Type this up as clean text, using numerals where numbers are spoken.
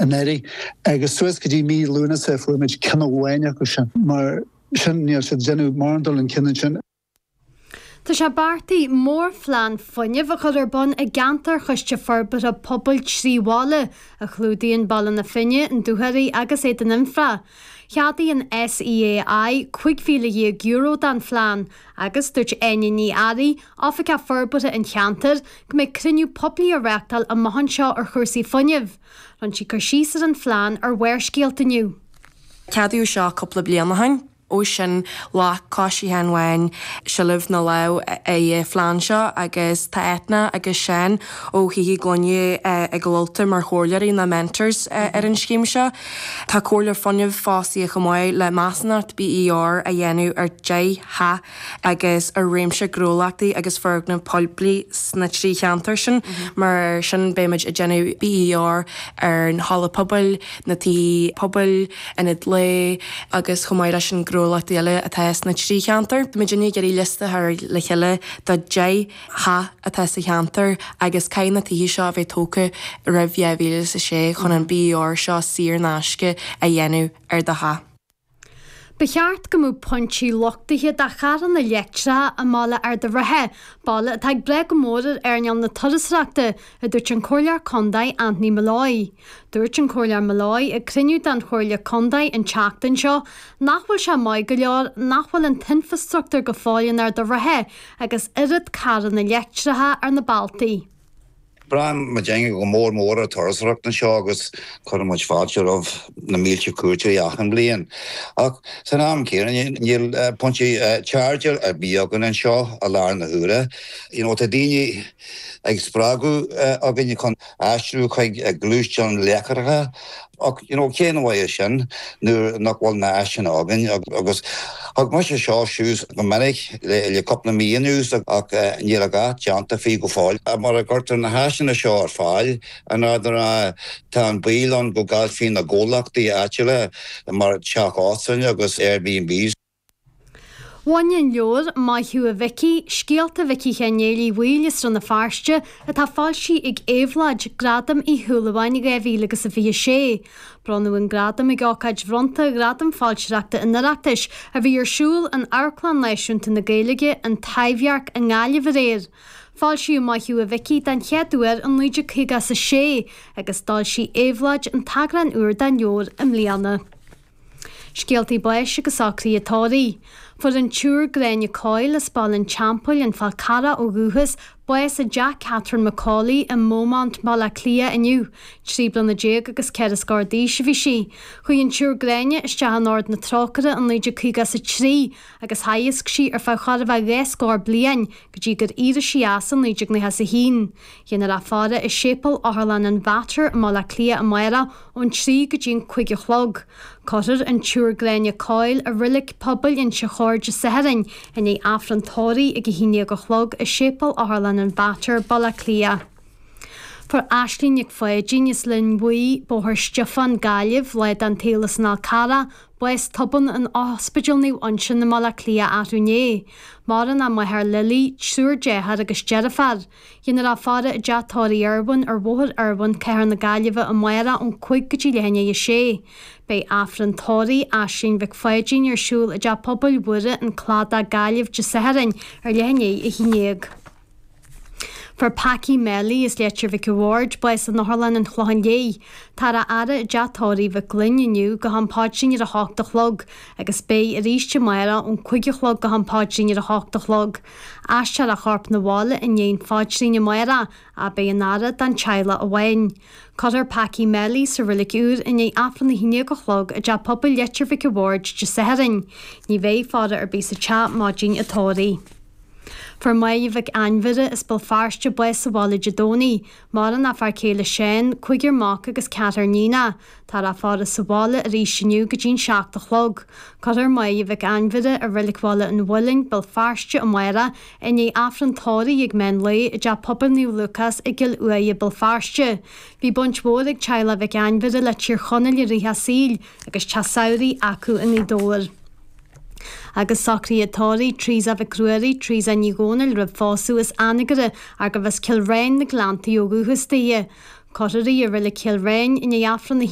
Anuraidh agus suas go dtí mí Lúnasa fuair muid ceann amháin acu sin. Mar sin níl siad ag déanamh mórán dul chun cinn ansin. Tá sé beartaithe mórphlean fuinnimh a chur ar bun i gceantar Choiste Forbartha Pobail 3 Bhaile, a chlúdaíonn Baile na Finne, an Dúchoraidh agus Éadan Fhionntrá. Cheadaigh an SEAI €15,000 don phlean agus dúirt Áine Ní Fhearraigh, Oifigeach Forbartha an cheantair, go mbeidh cruinniú poiblí á reáchtáil amach anseo ar chúrsaí fuinnimh. Rinne sí cur síos ar an phlean ar Bharrscéalta inniu. Ceadaíodh seo cúpla bliain ó shin. Ó sin ghlac Coiste Sheáin Bháin seilbh na lámh ar an phlean seo agus tá Eithne agus Seán ó Thithe Gloine ag Ultaigh mar chomhairleoirí nó mentors ar an scéim seo. Tá Comhairleoir Fuinnimh fostaithe chomh maith le measúnacht BER a dhéanamh ar 10 theach agus ar réimse gnólachtaí agus foirgneamh poiblí sna 3 cheantar sin. Mar sin beimid ag déanamh BER ar an halla pobail, na tithe pobail, ionad lae agus chomh maith leis an gnólachtaí eile atá sna 3 cheantar. Tá muidinne ag iarraidh liosta a chur le chéile de 10 theach atá sa cheantar agus caithfidh na tithe seo a bheith tógtha roimh 2006 chun an BER seo saor in aisce a dhéanamh ar do theach. Ba cheart go mbeadh pointí luchtaithe do charranna leictreacha i mbaile Ard a' Rátha, baile atá ag brath go mór ar earnáil na turasóireachta, a dúirt an Comhairleoir Contae Anthony Molloy. Dúirt an Comhairleoir Molloy ag cruinniú den Chomhairle Contae an tseachtain seo nach bhfuil sé maith go leor nach bhfuil an t-infreastruchtúr go fóill in Ard a' Rátha agus oiread carranna leictreacha ar na bealtaí. Braitheann muidinne go mór mór ar turasóireacht anseo agus cuireann muid fáilte roimh na mílte cuairteoirí achan bhliain. Ach san am céanna níl pointí charge ar bith againn anseo i láthair na huaire. You know tá daoine ag spreagadh againn chun aistriú chuig gluaisteáin leictreacha Ach you know cén mhaith é sin nuair nach bhfuil na áiseanna againn agus thug mise seo suas go minic le cúpla mí anuas ach níl a dhath déanta faoi go fóill. Mura gcuirtear na háiseanna seo ar fáil in Ard an Rátha tá an baol ann go gcaillfí na gnólachtaí áitiúla mar teach óstáin agus Airbnbs. Bhain an leabhar Maith Thú a Mhicí, Scéalta Mhicí Sheáin Néill Uí Bhaoill as Rann na Feirste, atá foilsithe ag Éabhlóid, Gradam Uí Shúilleabháin 2026. Bronnadh an gradam ag ócáid bhronnta Ghradam Foilsitheoireachta an Oireachtais a bhí ar siúl in Amharclann Náisiúnta na Gaeilge, An Taibhdhearc i nGaillimh aréir. Foilsíodh Maith Thú a Mhicí den chéad uair in 1956 agus d'fhoilsigh Éabhlóid an t-eagrán úr den leabhar i mbliana. Scéaltaí báis agus socruithe tórraimh. Fuair an tSiúr Gráinne Coyle as Baile an Teampaill, An Fál Carrach ó dhúchas, bás i dteach Catherine McAuley i mBeaumont, Baile Átha Cliath inniu. 13 bliana agus ceithre scór d'aois a bhí sí. Chuaigh an tSiúr Gráinne isteach in Ord na Trócaire in 1953 agus theagasc sí ar feadh chóir a bheith dhá scór bliain go dtí gur éirigh sí as in 1991. Déanfar í a fhaire i Séipéal Otharlann an Mhater i mBaile Átha Cliath amárach ón 3 go dtí an 5 a chlog. Cuirfear an tSiúr Gráinne Coyle i Reilig Pobail Inse Chór Dé Sathairn i ndiaidh Aifreann tórraimh ag 11 a chlog i Séipéal Otharlann an Mhater, Baile Átha Cliath. Fuair Aisling Nic Pháidín as Linn Bhuí, Bóthar Stiofáin, Gaillimh, lá den tsaol as an Fhál Carrach, bás tobann in Ospidéal Naomh Uinseann i mBaile Átha Cliath arú inné. Maireann a máthair Lily, triúr dearthár agus deirfiúr. Déanfar í a fhaire i dteach tórraimh Irwin ar Bhóthar Irwin, Cathair na Gaillimhe amárach ón 5 go dtí leath i ndiaidh a sé. Beidh Aifreann tórraimh Aisling Mhic Pháidín ar siúl i dTeach Pobail Mhuire, An Cladach, Gaillimh, Dé Sathairn ar leath i ndiaidh 11. Fuair Packy Melly as Leitir Mhic a' Bhaird bás in Otharlann an Chlocháin Léith. Táthar á fhaire i dteach tórraimh Mhic Gloinn inniu go ham paidrín ar a hocht a chlog agus beidh arís amárach ón 5 a chlog go ham paidrín ar a hocht a chlog. Aistreofar a chorp 'na bhaile i ndiaidh an phaidrín amárach ach beidh an fhaire don teaghlach amháin. Cuirfear Packy Melly sa reilig úr i ndiaidh Aifreann a haon déag a chlog i dTeach Pobail Leitir Mhic a' Bhaird Dé Sathairn. Ní bheidh faire ar bith sa teach maidin an tórraimh. Fuair Máire Mhic Ainmhire as Béal Feirste bás sa bhaile Dé Domhnaigh. Maireann a fear céile Seán, cúigear mac agus ceathrar níonach. Táthar á faire sa bhaile arís inniu go dtí'n 7 a chlog. Cuirfear Máire Mhic Ainmhire i Reilig Bhaile an Mhuilinn, Béal Feirste, amárach i ndiaidh Aifreann tórraimh ag meán lae i dTeach Pobail Naomh Lúcás i gCill Uaighe, Béal Feirste. Bhí baint mhór ag teaghlach Mhic Ainmhire le Tír Chonaill i rith a saoil agus teach samhraidh acu i nGaoth Dobhair. Agus socruithe tórraimh Teresa Mhic Ruairí, Teresa Ní Dhomhnaill roimh phósadh as Anagaire, arbh as Cill Ráin na Gleanntaí ó dhúchas daoithe. Ó Cothairigh i Reilig Chill Ráin i ndiaidh Aifreann a.